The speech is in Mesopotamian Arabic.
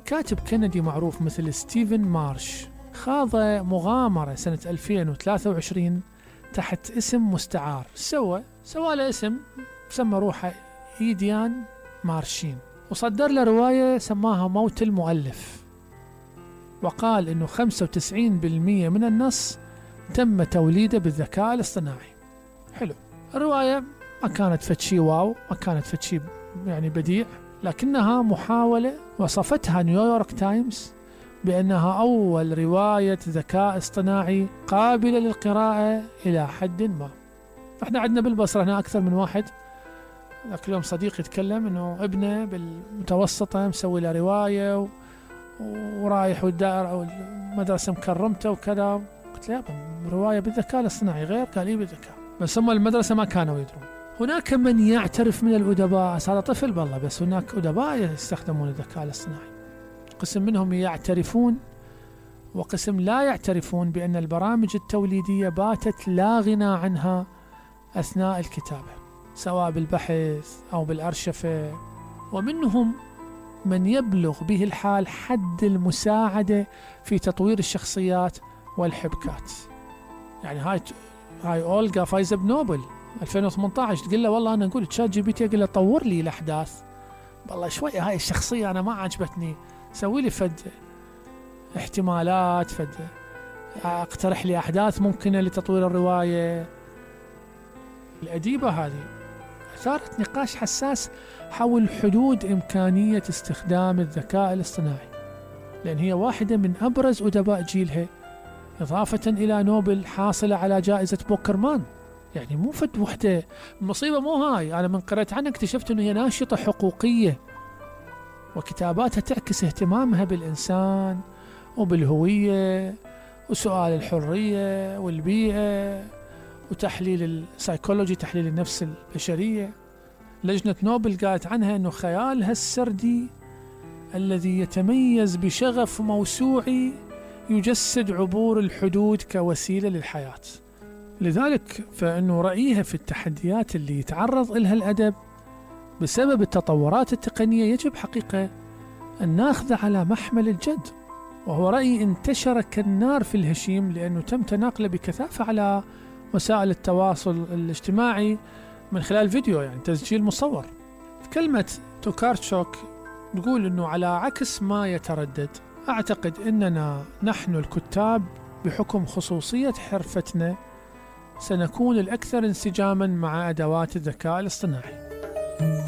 كاتب كندي معروف مثل ستيفن مارش خاض مغامرة سنة 2023 تحت اسم مستعار. سوى له اسم، سمى روحه إيديان مارشين، وصدر له رواية سماها موت المؤلف، وقال إنه 95% من النص تم توليده بالذكاء الاصطناعي. حلو، الرواية ما كانت فتشي واو، ما كانت فتشي يعني بديع، لكنها محاولة وصفتها نيويورك تايمز بأنها أول رواية ذكاء اصطناعي قابلة للقراءة إلى حد ما. احنا عندنا بالبصرة هنا أكثر من واحد. ذاك اليوم صديق يتكلم إنه ابنه بالمتوسطة مسوي له رواية ورايح والدائرة أو المدرسة مكرمته وكذا. قلت له رواية بالذكاء الاصطناعي غير؟ قال إيه بالذكاء، بس هم المدرسة ما كانوا يدرون. هناك من يعترف من الأدباء، هذا طفل بالله، بس هناك أدباء يستخدمون الذكاء الاصطناعي. قسم منهم يعترفون وقسم لا يعترفون بأن البرامج التوليدية باتت لا غنى عنها أثناء الكتابة، سواء بالبحث أو بالأرشفة. ومنهم من يبلغ به الحال حد المساعدة في تطوير الشخصيات والحبكات. يعني هاي أولغا فايزة بنوبل 2018 تقول له والله أنا أقول تشات جي بي تي، أقول له طور لي الأحداث، والله شوية هاي الشخصية أنا ما عجبتني، سوي لي فد احتمالات، اقترح لي أحداث ممكنة لتطوير الرواية. الأديبة هذه أثارت نقاش حساس حول حدود إمكانية استخدام الذكاء الاصطناعي، لأن هي واحدة من أبرز أدباء جيلها، إضافة إلى نوبل حاصلة على جائزة بوكرمان. يعني مو فد وحدة. المصيبة مو هاي، أنا من قرأت عنها اكتشفت أنه هي ناشطة حقوقية، وكتاباتها تعكس اهتمامها بالإنسان وبالهوية وسؤال الحرية والبيئة وتحليل السايكولوجي، تحليل النفس البشرية. لجنة نوبل قالت عنها أنه خيالها السردي الذي يتميز بشغف موسوعي يجسد عبور الحدود كوسيلة للحياة. لذلك فإنه رأيها في التحديات اللي يتعرض إلها الأدب بسبب التطورات التقنية يجب حقيقة أن ناخذ على محمل الجد، وهو رأي انتشر كالنار في الهشيم لأنه تم تناقله بكثافة على وسائل التواصل الاجتماعي من خلال فيديو، يعني تسجيل مصور. كلمة توكارتشوك تقول أنه على عكس ما يتردد، أعتقد أننا نحن الكتاب بحكم خصوصية حرفتنا سنكون الأكثر انسجاما مع أدوات الذكاء الاصطناعي.